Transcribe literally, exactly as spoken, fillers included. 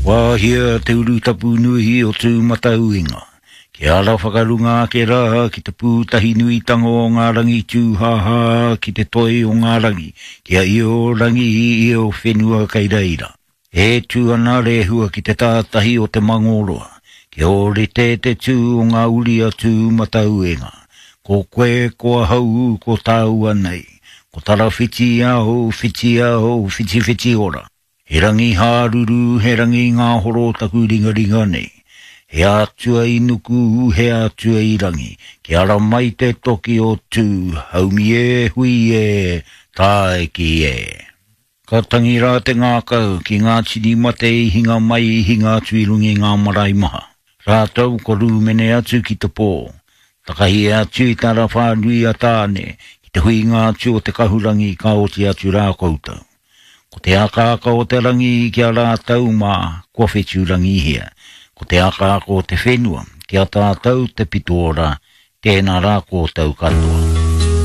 Wāhia te urutapu nui o Tūmatauenga. Ki ara whakarunga ake rā ki te pūtahi nuitanga o ngā rangi tūhāhā ki te toi o ngā rangi, ki a io rangi io whenua kei reira. E tū ana rehua ki te tātahi o te Mangōroa, ki ōrite te tū o ngā uri a Tūmatauenga. Ko koe, ko ahau, ko tāua nei. Ko tarawhiti ao, whiti ao, whiti whiti ora. He rangi hāruru, he rangi ngāhoro taku ringaringa nei. He atua i nuku, he atua i rangi. Ki ara mai te toki o tū, haumi e, hui e, tāiki e. Ka tangi rā te ngākau ki ngā tini mate i hinga mai i hinga atu i runga i ngā marae maha. Rātou ko rūmene atu ki te pō. Takahi atu i tara whānui a Tāne, ki te huinga atu o te kahurangi ka oti atu rā koutou. Ko te akaaka o te rangi ki a rātou mā, kua whetūrangihia. Ko te akaaka o te whenua, ki a tātou te pito ora, tēnā rā koutou katoa.